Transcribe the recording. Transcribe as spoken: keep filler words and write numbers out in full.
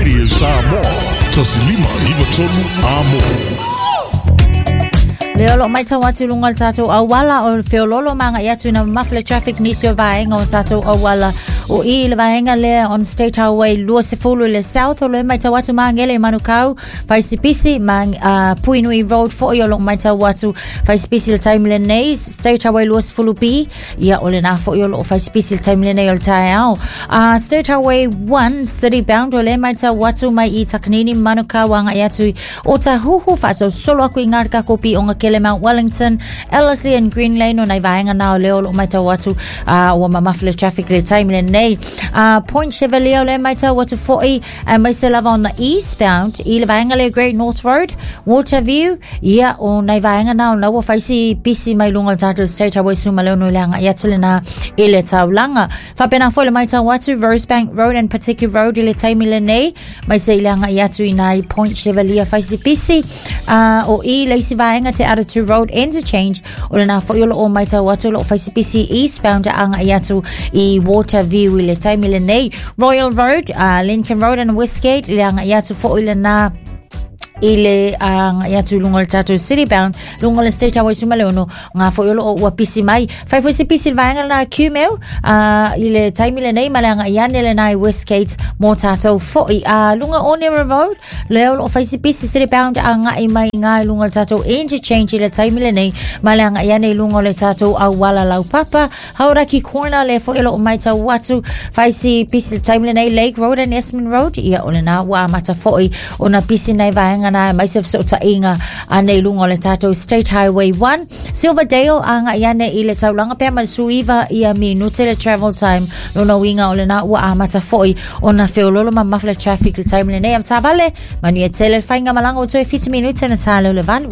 Radio Samoa, Tasilima Ivatonu Amo. Le o lo mai tau atu lunga le tātou auala o le feololo manga i atu ina mafle traffic nisi o vaenga o tātou auala o i le vaenga lea on State Highway lua sefulu le south o le mai tau atu mangele i Manukau Faisipisi ma uh, Puinui Road foi o lo mai tau atu Faisipisi le time le nei State Highway lua sefulu B ia o le nā foi o lo Faisipisi le time le nei o le taeao. uh, State Highway one City Bound o le mai tau atu mai i Takanini Manukau anga i atu i o Tahuhu whaasau solo aku i ngā kopi o ngā kele Mount Wellington, Ellerslie and Green Lane o nei vaenga nā o leo lo mai tau atu uh, ua mamafle traffic le time le nei. Uh, Point Chevalier o le mai tau atu foi uh, mai se lava on the eastbound i le vaenga le Great North Road, Waterview, ia o nei vaenga nā o nā ua whaisi pisi mai lunga o tātou State Highway suma leo nui leanga i atu le nā i le taulanga. Whapena foi le mai tau atu Rosebank Road and Patiki Road i le taimi le nei, mai se i leanga i atu i nai Point Chevalier whaisi pisi uh, o i leisi vaenga te Aratu Road Interchange o le nā foi o lo o mai tau atu lo o whaisi eastbound anga i atu i Waterview i le taimi le nei. Royal Road, uh, Lincoln Road and Westgate le anga i atu foi le nā i le uh, i atu lunga o le tātou City Bound lunga o le State Highway suma le ono ngā foi o lo o ua pisi mai fai foi se pisi le vaenga na Q-mail uh, i le taimi le nei ma le anga i ane le nai Westgate mō tātou foi uh, lunga Onera Road le o lo o fai se pisi City Bound a ngai mai ngā i lunga o le tātou Interchange i le taimi le nei ma le anga i ane i lunga o le tātou Auala Laupapa Hauraki Corner le foi o lo o mai tau atu fai se pisi le taimi le nei Lake Road and Esmond Road ia o le nā ua amata foi o na pisi nei vaenga na mai se so tainga ane lunga o le tātou State Highway one Silverdale anga i ane i le taulanga pea ma suiva ia minute le travel time lona winga o le nā ua amata foi o na feololo ma mafle traffic le time le nei am tavale manu e tele whainga malanga o toe fitu minute na tā leo le valu.